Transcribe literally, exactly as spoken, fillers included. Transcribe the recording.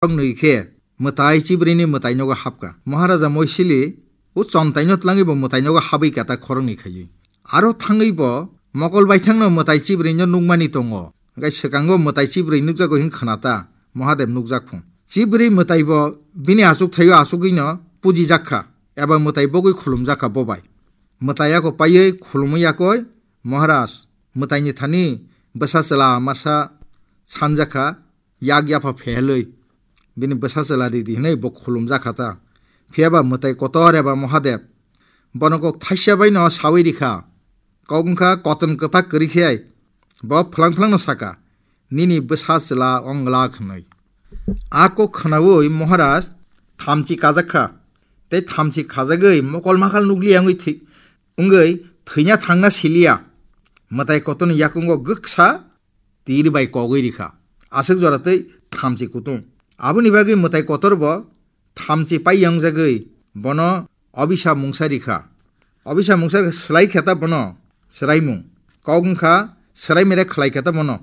khoroknwi khe mwtai chibrwini mwtainogo hapkha. Maharaja Moisili o chontaino tlangwi bo mwtainogo habwi kata khoroknwi khaiwi. Aro thangwi bo mokol baithangno mwtai chibrwino nukmani tongo. Hwnkhe swkango mwtai chibrwi nukjago hwn khnata Mahadev nukjak phung. Chibrwi mwtai bo bini achuk thaio achugwino pujijak kha, eba mwtai bogwi khulumjak kha bobai. Mwtai yakho paiwi khulumwi yakoi, Maharaj, mwtaini thani bwsa chwla masa sanjak kha, yak yapha phehelwi bini bwsa chwla ridi hwnwi bo khulumjak kha ta. Phiyaba mwtai kotor eba Mahadev bono kok thaisa baino sawi rikha. Kok wngkha koton kwpak kwrwi khe bo phlang phlangno saka, "Nini bwsa chwla ong glak," hwnwi. A kok khnaui Maharaj thamchi kajak kha, tei thamchi khajagwi mokol makhal nukliya wngwi thwi-, wngwi thwina thangna siliya. Mwtai kotorni yakungo gwksa tir bai kogwi rikha. Aswk jora tei thamchi kutung. Aboni bagwi mwtai kotor bo thamchi pai yangjagwi bono obisa mungsa rikha. Obisa mungsa slai khe ta bono swraimung. Kok wngkha swrai mere khlai khe ta bono.